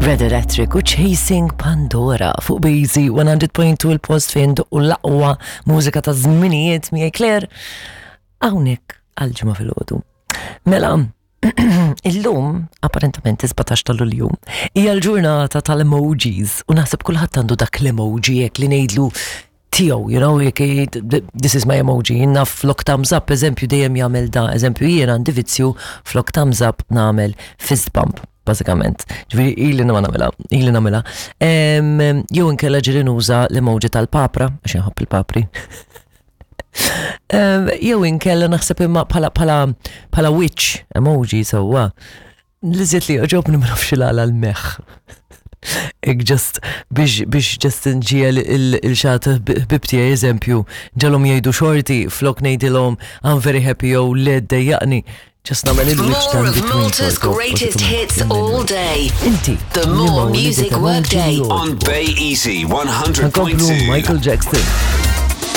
Red Electric u Chasing Pandora fuq Bazy 100.2 il-post fejn u l-aqwa mużika ta' żminijiet miegħi Claire hawnhekk għal ġimgħa filgħodu. Mela, illum, apparentament 17 ta' Lulju, hija l-ġurnata tal-emojis u naħseb kulħadd għandu dak l-emoji jekk li ngħidlu tiegħu, you know, jekk this is my emoji, jiena flok thumbs up, eżempju dejjem jagħmel da, eżempju jien għandi vizzju flok thumbs up nagħmel fist bump bażikament. Ġifieri ili ma nagħmilha, ili nagħmilha. Jew inkella ġieli nuża l-emoji tal-papra, għax inħobb il-papri. Jew inkella naħseb imma bħala bħala bħala witch emoji sewwa. Li żiet li joġobni ma nafx il-għala l-meħ. Ik just biex biex just nġiel il-xat ħbib tiegħi eżempju, ġalhom jgħidu xorti flok ngħidilhom I'm very happy jew le ddejjaqni. Just nagħmel il-witch More ta' of between Malta's sort of, greatest bażikament. hits all day. Inti. The More liema Music emoji Workday. li On jogħġbok? Bay Easy Nkomplu 100.2. Michael Jackson.